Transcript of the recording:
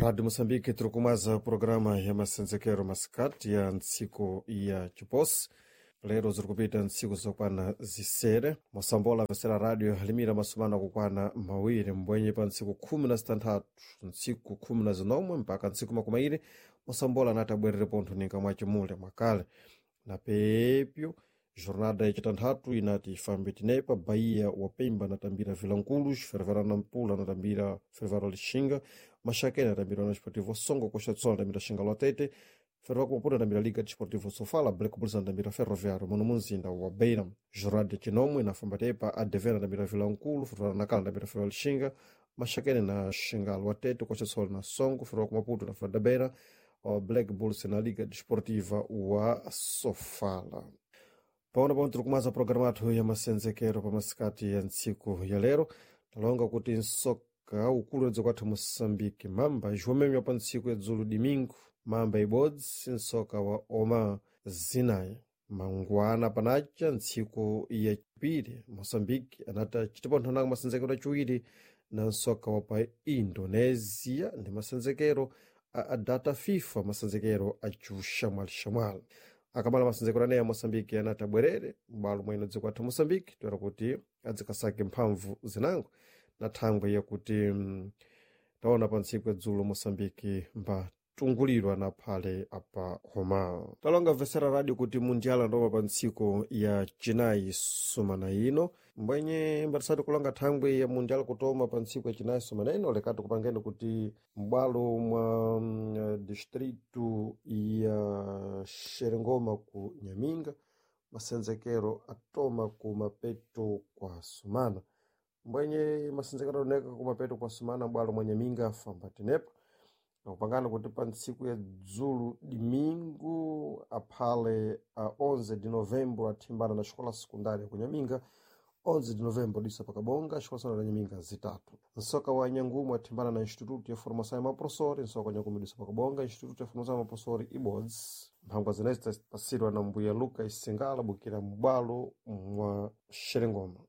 Rádio Moçambique tiri programa ya masenzekero masikati ya ntsiku ya chiposi lero ziri kupita ntsiku zokwana zisere mosambola vesera radio limira masumano akukwana mawiri mbwenye pa ntsiku 16 ntsiku 19 mpaka ntsiku makumi airi mosambola anati abwerere pontho ninga mwachimule mwakale na pepyo jornada yacitanthatu inati ifambe tinepa bahia wa pemba anatambira vilankulos fervera nampula anatambira fervera lixinga maxakene anatambira na esportivo songo costa do sol anatambira xinga lwatete ferroviário Maputo anatambira Liga Desportiva Sofala, Black Bulls anatambira Ferroviário muno mumzinda wa Beira. Jornada chinomwe inafamba tepa ADV anatambira Vilankulu, Ferroviário Nacala anatambira Ferroviário Lixinga, Maxakene na Xinga Lwatete, Costa do Sol na Songo, Ferroviário Maputo na Ferroviário da Beira, o Black Bulls na Liga Desportiva wa Sofala. Paona pano tiri kumaza programa athu ya masenzekero pa masikati ya ntsiku ya lero talonga kuti nsoka ukulu wedza kwathu moçambique mamba ijuwamemya pa ntsiku ya dzulu domingo mamba ibodzi nsoka wa oma zinayi mangwana panacha ntsiku ya chipiri moçambique anati achitiponthonako masenzekero achiwiri na nsoka wa pa indonésia ndi masenzekero a data fifa masenzekero acuxamwalixamwali akamala masenzekero aneya moçambique anati abwerere m'bwalo mwene dziko athu moçambique toera kuti adzikasake mphamvu zinango na thangwe yakuti taona pa ntsiku ya dzulo moçambique mbatungulirwa na phale apa homa talonga vesera radio kuti mundiala ndoma pa ntsiku ya chinayi sumana ino mbwenye mbatisati kulonga thangwe ya mundiala kutoma pa ntsiku ya chinayi sumana ino lekati kupangeni kuti m'bwalo mwa distritu ya xerengoma ku nyaminga masenzekero atoma ku mapeto kwa sumana mbwenye masenzekero aoneka ku mapeto kwa sumana m'bwalo mwa nyaminga afamba tenepa nakupangana kuti pa ntsiku ya dzulu domingo aphale a 11 de novembro athimbana na xikola sekundária ku nyaminga 11 de novembro disa pakabonga xikola sekundari ya nyaminga zitatu nsoka wa nyangumu athimbana na instituto ya formação ya maprofessori nsoka wa nyangumu disa pakabonga instituto ya formação ya maprofessori ibodzi mphangwa zinezi zitapasidwa na mbuya lucas singala bukira m'bwalo mwa xerengoma.